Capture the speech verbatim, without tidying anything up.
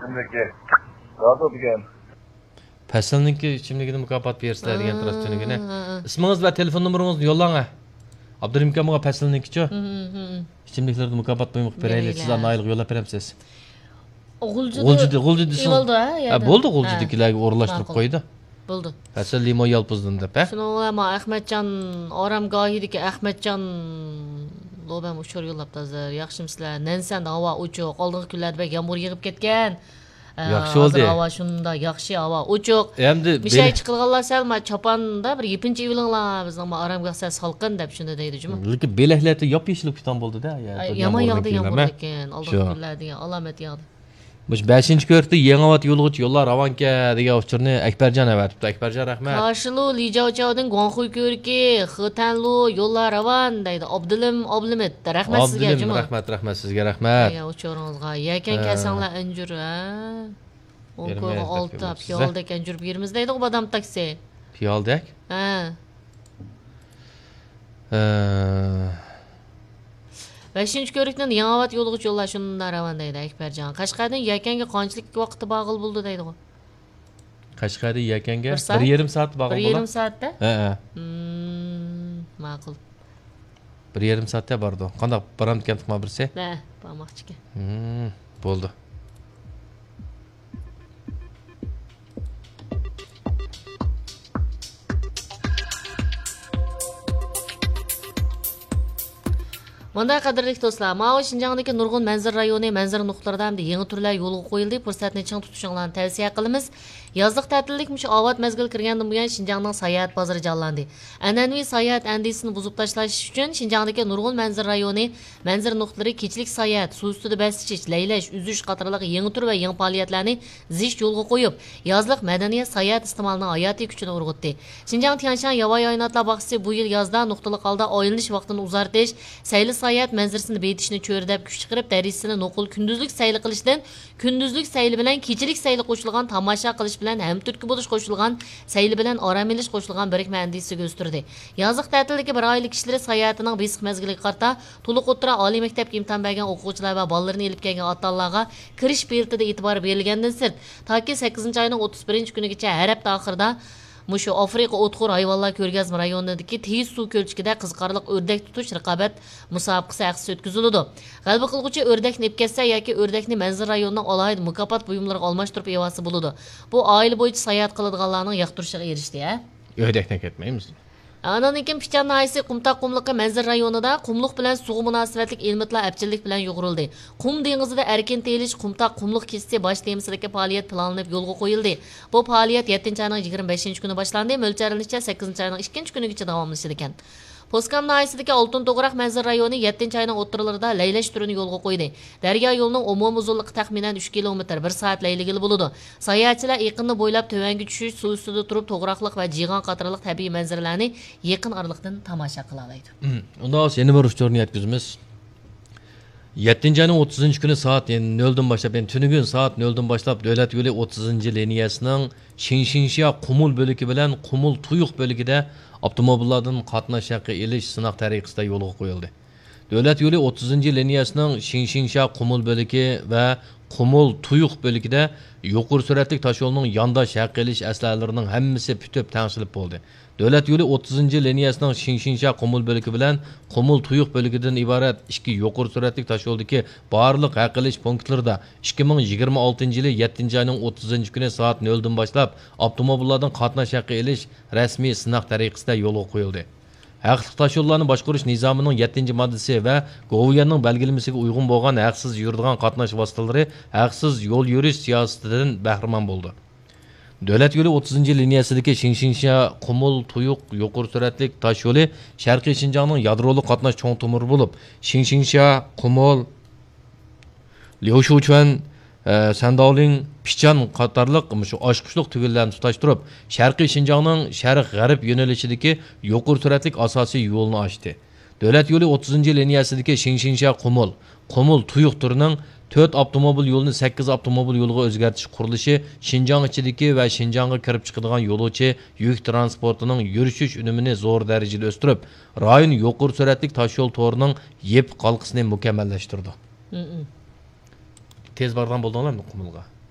ئىچىملىكى. رازى دېگەن. پەسىلنىڭكى ئىچىملىكىنى مۇكاپات بېرىسىلەر دېگەن تۇرۇش تۈنۈگۈنى. ھە، ھە. ئىسمىڭىز ۋە تېلېفون نومۇرىڭىزنى يوللاڭ، ھە. ئابدۇرېھىم ئاكا، ماڭا پەسىلنىڭكىچۇ؟ ھە، ھە، ھە. ئىچىملىكلەردىن مۇكاپات بۇيۇملۇق بېرەيلى. بېرەيلى، سىز ھە. ئانا ئايلىق يوللاپ بېرەمسىز؟ غۇلجىدا، غۇلجىدا، غۇلجىدا ئېلىۋالدى، ھە، ھە، يەردىن. بولدى، ھە. غۇلجىدىكىلەرگە ئورۇنلاشتۇرۇپ ماقۇل. قويدى. بولدى. پەسىل لىمون يالپۇزدىن دەپ، ھە؟ شۇنىڭ بىلەن مانا ئەخمەتجان ئارامگاھىدىكى ئەخمەتجان لوبەم ئۇچۇر يوللاپتۇ ھازىر. ياخشىمۇسىلەر؟ نەنسەندە ھاۋا ئوچۇق. ئالدىنقى كۈنلەردە بەك يامغۇر يېغىپ كەتكەن. ئە، ياخشى ھازىر بولدى. ھاۋا شۇنداق ياخشى، ھاۋا ئوچۇق. ئەمدى مىشەي بېلەك چىقىدىغانلار سەل ما چاپاندا بىر يېپىنچا ئېۋىلىڭلار، بىزنىڭ ما ئارامگاھ سەل سالقىن دەپ شۇنداق دەيدۇ جۇمۇ. لېكىن بېلەكلەردە ياپيېشىل بولۇپ كېتىدىغان بولدى-دە. ئاي، يامان ياغدى يامغۇر لېكىن، ئالدىنقى كۈنلەردە ئالامەت ياغدى. مۇشۇ بەشىنچى كۆرۈكتە يېڭىئاۋات يولىغىچە يوللار راۋانكەن دېگەن ئۇچۇرنى ئەكبەرجان ئەۋەتىپتۇ. ئەكبەرجان، رەھمەت. كاشىلۇ لىجاۋچاۋدىن گۇاڭخۇي كۆرۈكى، خېتەنلۇ يوللار راۋان دەيدۇ. ئابدۇلىم ئابلىمىت، رەھمەت سىزگە، ئابدۇلىم، جۇمۇ. رەھمەت، رەھمەت سىزگە، رەھمەت. ئايا، ئۇچۇرىڭىزغا. يەكەن ھە. كەلسەڭلار ئەنجۈر، ھە؟ ئون بېرىمىز كويغا دەپ ئالتە، كۆرمەپسىز، ھە؟ پىيالىدەك ئەنجۈر بېرىمىز دەيدىغۇ بادام تاكسى. پىيالىدەك؟ ھە. ھە. بەشىنچى كۆرۈكتىن يېڭىئاۋات يولىغىچە يوللار شۇنداق راۋان دەيدۇ ئەكبەرجان. قەشقەردىن يەكەنگە قانچىلىك ۋاقىتتا بارغىلى بولىدۇ دەيدىغۇ؟ قەشقەردىن يەكەنگە بىر سائەت؟ بىر يېرىم سائەتتە بارغىلى بولىدۇ. بىر يېرىم سائەتتە؟ ھە، ھە. مم، ماقۇل. بىر يېرىم سائەتتە بارىدۇ. قانداق، بارامدىكەن تۇغما بىرسى؟ ھە، بارماقچىكەن. مم، بولدى. مۇنداق، قەدىرلىك دوستلار، ماۋۇ شىنجاڭدىكى نۇرغۇن مەنزىرە رايونى، مەنزىرە نۇقتىلىرىدا ئەمدى يېڭى تۈرلەر يولغا قويۇلدى. پۇرسەتنى چىڭ تۇتۇشۇڭلارنى تەۋسىيە قىلىمىز. يازلىق تەتىللىك مۇشۇ ئاۋات مەزگىل كىرگەندىن بۇيان، شىنجاڭنىڭ ساياھەت بازىرى جانلاندى. ئەنئەنىۋى ساياھەت ئەندىزىسىنى بۇزۇپ تاشلاش ئۈچۈن، شىنجاڭدىكى نۇرغۇن مەنزىرە رايونى، مەنزىرە نۇقتىلىرى كېچىلىك ساياھەت، سۇ ئۈستىدە بەس ئېچىش، لەيلەش، ئۈزۈش قاتارلىق يېڭى تۈر ۋە يېڭى پائالىيەتلەرنى زىچ يولغا قويۇپ، يازلىق مەدەنىيەت ساياھەت ئىستېمالىنىڭ ھاياتىي كۈچىنى ئۇرغۇتتى. شىنجاڭ تيەنشان ياۋايى ھايۋاناتلار باغچىسى بۇ يىل يازدا نۇقتىلىق ھالدا ئايلىنىش ۋاقتىنى ئۇزارتىش، سەيلە ساياھەت مەنزىرىسىنى بېيىتىشنى چۆرىدەپ كۈچ چىقىرىپ، دەرىجىسىنى نوقۇل كۈندۈزلۈك سەيلە قىلىشتىن كۈندۈزلۈك سەيلە بىلەن كېچىلىك سەيلە قوشۇلغان، تاماشا قىلىش بىلەن ھەمتۈرتكە بولۇش قوشۇلغان، سەيلە بىلەن ئارام ئېلىش قوشۇلغان بىرىكمە ئەندىزىسىگە ئۆستۈردى. يازلىق تەتىلدىكى بىر ئائىلە كىشىلىرى ساياھىتىنىڭ بېسىق مەزگىلىگە قارىتا، تولۇق ئوتتۇرا، ئالىي مەكتەپكە ئىمتىھان بەرگەن ئوقۇغۇچىلار ۋە بالىلىرىنى ئېلىپ كەلگەن ئاتا-ئانىلارغا كىرىش بېلىتىدا ئېتىبار بېرىلگەندىن سىرت، تاكى سەككىزىنچى ئاينىڭ ئوتتۇز بىرىنچى كۈنىگىچە ھەر ھەپتە ئاخىرىدا مۇشۇ ئافرىقا ئوتخور ھايۋانلار كۆرگەزمە رايونىدىكى تېيىز سۇ كۆلچىكىدە قىزىقارلىق ئۆردەك تۇتۇش رىقابەت مۇسابىقىسى ھەقسىز ئۆتكۈزۈلىدۇ. غەلىبە قىلغۇچى ئۆردەكنى ئېلىپ كەتسە ياكى ئۆردەكنى مەنزىرە رايونىنىڭ ئالاھىدە مۇكاپات بۇيۇملىرىغا ئالماشتۇرۇپ ئېلىۋالسا بولىدۇ. بۇ ئائىلە بويىچە ساياھەت قىلىدىغانلارنىڭ ياقتۇرۇشىغا ئېرىشتى، ھە؟ ئۆردەكنى ئەكەتمەيمىز. ئاندىن كېيىن پىچان ناھىيەسى قۇمتاق قۇملۇقى مەنزىرە رايونىدا قۇملۇق بىلەن سۇغا مۇناسىۋەتلىك ئېلىمىتلار ئەپچىللىك بىلەن يۇغۇرۇلدى. قۇم دېڭىزىدا ئەركىن تېيىلىش قۇمتاق قۇملۇق كېچىسى باش تېمىسىدىكى پائالىيەت پىلانلىنىپ يولغا قويۇلدى. بۇ پائالىيەت يەتتىنچى ئاينىڭ يىگىرمە بەشىنچى كۈنى باشلاندى، مۆلچەرلىنىشىچە، سەككىزىنچى ئاينىڭ ئىككىنچى كۈنىگىچە داۋاملىشىدىكەن. پوسكام ناھىيەسىدىكى ئالتۇن توغراق مەنزىرە رايونى يەتتىنچى ئاينىڭ ئوتتۇرىلىرىدا لەيلەش تۈرىنى يولغا قويدى. دەريا يولىنىڭ ئومۇمىي ئۇزۇنلۇقى تەخمىنەن ئۈچ كىلومېتىر، بىر سائەت لەيلىگىلى بولىدۇ. ساياھەتچىلەر ئېقىننى بويلاپ تۆۋەنگە چۈشۈش، سۇ ئۈستىدە تۇرۇپ توغراقلىق ۋە جىغان قاتارلىق تەبىئىي مەنزىرىلەرنى يېقىن ئارىلىقتىن تاماشا قىلالايدۇ. ئۇنداق بولسا يەنە بىر ئۇچۇرنى يەتكۈزىمىز. يەتتىنچى ئاينىڭ ئوتتۇزىنچى كۈنى سائەت نۆلدىن باشلاپ، يەنى تۈنۈگۈن سائەت نۆلدىن باشلاپ دۆلەت يولى ئوتتۇزىنچى لىنىيەسىنىڭ شىڭشىڭشيا قۇمۇل بۆلىكى بىلەن قۇمۇل تۇيۇق بۆلىكىدە ئاپتوموبىللاردىن قاتناش ھەققى ئېلىش سىناق تەرىقىسىدە يولغا قويۇلدى. دۆلەت يولى ئوتتۇزىنچى لىنىيەسىنىڭ شىڭشىڭشيا قۇمۇل بۆلىكى ۋە قۇمۇل تۇيۇق بۆلىكىدە يۇقىرى سۈرئەتلىك تاشيولنىڭ يانداش ھەققى ئېلىش ئەسلىھەلىرىنىڭ ھەممىسى پۈتۈپ تەڭشىلىپ بولدى. دۆلەت يولى ئوتتۇزىنچى لىنىيەسىنىڭ شىڭشىڭشيا قۇمۇل بۆلىكى بىلەن قۇمۇل تۇيۇق بۆلىكىدىن ئىبارەت ئىككى يۇقىرى سۈرئەتلىك تاشيولدىكى بارلىق ھەق ئېلىش پونكىتلىرىدا ئىككى مىڭ يىگىرمە ئالتىنچى يىلى يەتتىنچى ئاينىڭ ئوتتۇزىنچى كۈنى سائەت نۆلدىن باشلاپ ئاپتوموبىللاردىن قاتناش ھەققى ئېلىش رەسمىي سىناق تەرىقىسىدە يولغا قويۇلدى. ھەقلىق تاشيوللارنى باشقۇرۇش نىزامىنىڭ يەتتىنچى ماددىسى ۋە گوۋۇيۈەننىڭ بەلگىلىمىسىگە ئۇيغۇن بولغان ھەقسىز يۈرىدىغان قاتناش ۋاسىتىلىرى ھەقسىز يول يۈرۈش سىياسىتىدىن بەھرىمەن بولىدۇ. دۆلەت يولى ئوتتۇزىنچى لىنىيەسىدىكى شىڭشىڭشيا قۇمۇل تۇيۇق يۇقىرى سۈرئەتلىك تاش يولى شەرقىي شىنجاڭنىڭ يادرولۇق قاتناش چوڭ تومۇرى بولۇپ، شىڭشىڭشيا، قۇمۇل، ليۇشۇچۈەن، ئە، سەنداۋلىڭ، پىچان قاتارلىق مۇشۇ ئاچقۇچلۇق تۈگۈنلەرنى تۇتاشتۇرۇپ، شەرقىي شىنجاڭنىڭ شەرق غەرب يۆنىلىشىدىكى يۇقىرى سۈرئەتلىك ئاساسىي يولىنى ئاچتى. دۆلەت يولى ئوتتۇزىنچى لىنىيەسىدىكى شىڭشىڭشيا قۇمۇل، قۇمۇل تۇيۇق تۈرىنىڭ تۆت ئاپتوموبىل يولىنى سەككىز ئاپتوموبىل يولىغا ئۆزگەرتىش قۇرۇلۇشى شىنجاڭ ئىچىدىكى ۋە شىنجاڭغا كىرىپ چىقىدىغان يولۇچى يۈك تىرانسپورتىنىڭ يۈرۈشۈش ئۈنۈمىنى زور دەرىجىدە ئۆستۈرۈپ، رايون يۇقىرى سۈرئەتلىك تاشيول تورىنىڭ يېپىق ھالقىسىنى مۇكەممەللەشتۈرىدۇ. مم. تېز بارىدىغان بولدۇڭلارمۇ قۇمۇلغا؟